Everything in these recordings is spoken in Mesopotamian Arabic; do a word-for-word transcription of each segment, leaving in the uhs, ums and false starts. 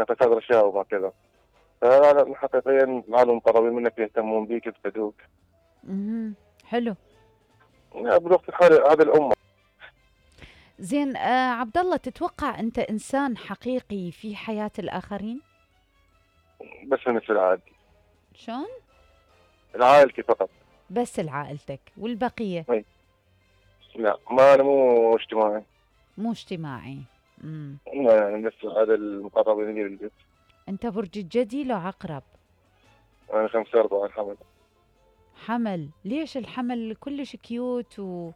يعطيك هذا الاشياء وما كذا. فلا لا حقيقيا العالم المقربين منك يهتمون بيك يفقدوك. اها حلو. يعني بالوقت الحالي هذه الامه. زين آه عبد الله، تتوقع انت انسان حقيقي في حياة الاخرين؟ بس مثل العادي. شلون؟ العائلتي فقط. بس لعائلتك والبقية؟ أي. لا ما انا مو اجتماعي. مو اجتماعي. امم لا يعني بس هذا المقربين لي بالبيت. انت برج الجدي لو عقرب؟ انا خمسة أربعة الحمد. حمل. ليش الحمل كلش كيوت و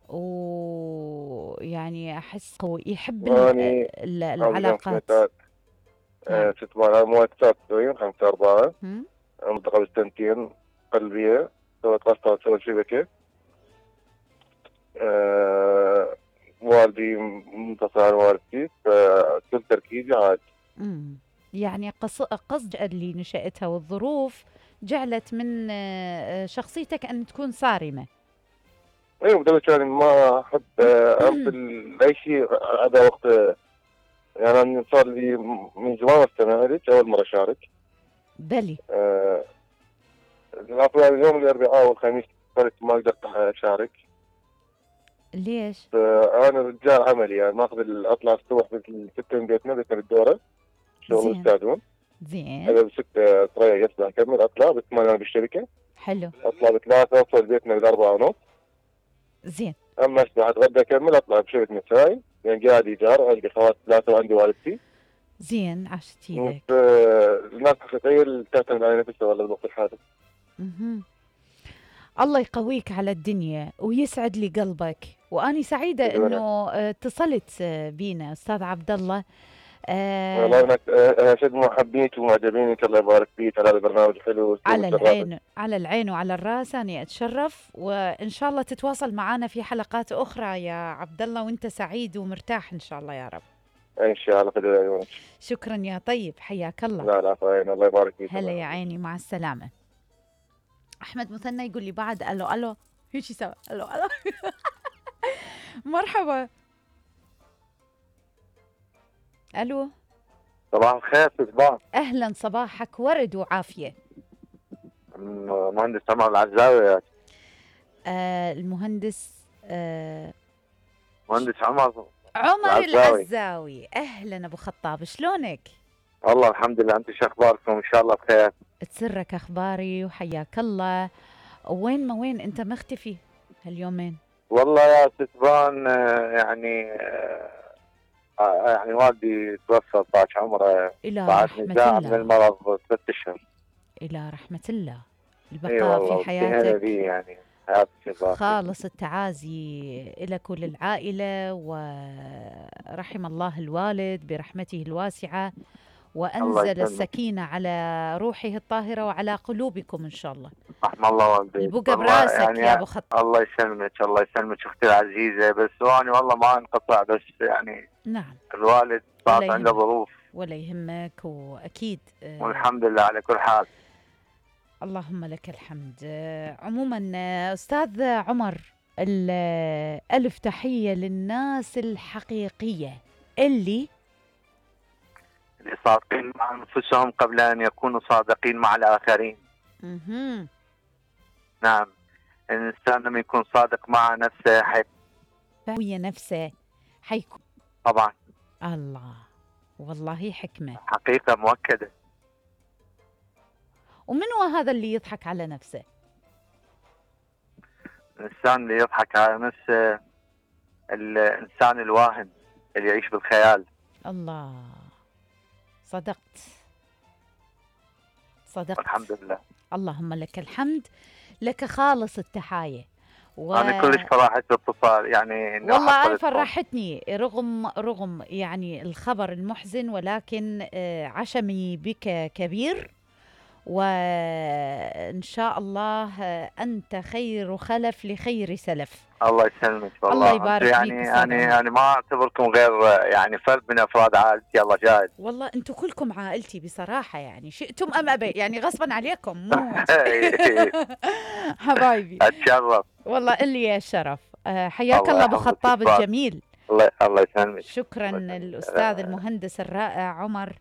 ويعني احس قوي، يحب ال... واني ال... عندي العلاقات. خمسة نعم. ست مرات مو اكثر تسوين خمسة أربعة. هم؟ منطقة بالسنتين قلبية. سويت قسطة سويت شبكة. أه والدي منتصر عن والدتي فكل تركيزي عاد. امم يعني قص... قصد اللي نشأتها والظروف جعلت من آه، شخصيتك أن تكون صارمة. ايوه بدل يعني ما احب آه، ارسل اي شيء هذا وقت. آه، يعني أنا صار لي من زمان استمع لك اول مرة اشارك. بلي. أه اليوم الاربعاء والخميس صرت ما اقدر اشارك. ليش؟ انا رجال عملي يعني ماخذ اطلع الصبح بالستة من بيتنا بيتنا بالدوره شغل زين. السادون. زين. انا بستة تريح يطلع اكمل اطلع بثمانية بالشركه. حلو. اطلع بثلاثة اوصل بيتنا بالاربعة ونص. زين. اما اسبح اتغدى اكمل اطلع بشركه مساي يعني قاعد ايجار عندي خوات ثلاثه وعندي والدتي. زين عشت ايدك. الناس حقيقيه اللي تعتمد على نفسها ولا بالوقت الحالي. اها. الله يقويك على الدنيا ويسعد لي قلبك، واني سعيده انه آه، اتصلت آه، بينا استاذ عبد الله. آه والله انا آه شد محبيك ومعجبينك الله يبارك فيك على البرنامج الحلو. على العين على العين وعلى الراس، اني اتشرف وان شاء الله تتواصل معنا في حلقات اخرى يا عبد الله وانت سعيد ومرتاح ان شاء الله يا رب. ان شاء الله خير عيونك. شكرا يا طيب، حياك الله. لا لا فاين الله يبارك فيك. هلا يا عيني، مع السلامه. احمد مثنى يقول لي بعد الو الو هيك سوا الو الو مرحبا. الو صباح الخير صباح. اهلا، صباحك ورد وعافيه. مهندس عمر العزاوي. آه المهندس آه مهندس عمر عمر العزاوي. العزاوي. اهلا ابو خطاب، شلونك؟ والله الحمد لله، انتم شو اخباركم؟ ان شاء الله بخير. تسرك اخباري وحياك الله. وين ما وين انت مختفي هاليومين؟ والله يا ستبان يعني يعني والدي توفى طاش عمره الى رحمه الله من المرض ثلاث اشهر. الى رحمه الله. البقاء في حياتك يعني حياتك خالص التعازي لك وللعائله، ورحم الله الوالد برحمته الواسعه وأنزل السكينة على روحه الطاهرة وعلى قلوبكم إن شاء الله. رحم الله والديك. البقى براسك يعني يا أبو خطاب. الله يسلمك الله يسلمك أختي العزيزة. بس يعني والله ما انقطع، بس يعني نعم الوالد صارت عنده ظروف. ولا يهمك، وأكيد آه والحمد لله على كل حال. اللهم لك الحمد. آه عموما أستاذ عمر، ألف تحية للناس الحقيقية اللي اللي صادقين مع أنفسهم قبل أن يكونوا صادقين مع الآخرين. اها نعم، الإنسان لما يكون صادق مع نفسه حي هي نفسه حيكون طبعا. الله والله حكمة حقيقة مؤكدة. ومن هو هذا اللي يضحك على نفسه؟ الإنسان اللي يضحك على نفسه الإنسان الواهن اللي يعيش بالخيال. الله، صدقت صدقت الحمد لله. اللهم لك الحمد، لك خالص التحاية. و... أنا كلش فرحت باتصال يعني. والله أنا فرحتني رغم رغم يعني الخبر المحزن، ولكن عشمي بك كبير، وإن شاء الله أنت خير خلف لخير سلف. الله يسلمك والله. الله يبارك فيك. يعني يعني يعني ما اعتبركم غير يعني فرد من افراد عائلتي. الله جاهد. والله انتم كلكم عائلتي بصراحه، يعني شئتم ام ابي، يعني غصبا عليكم مو حبايبي. اتشرف والله اللي الشرف. حياك الله ابو خطاب الجميل. الله الله يسلمك. شكرا الاستاذ المهندس الرائع عمر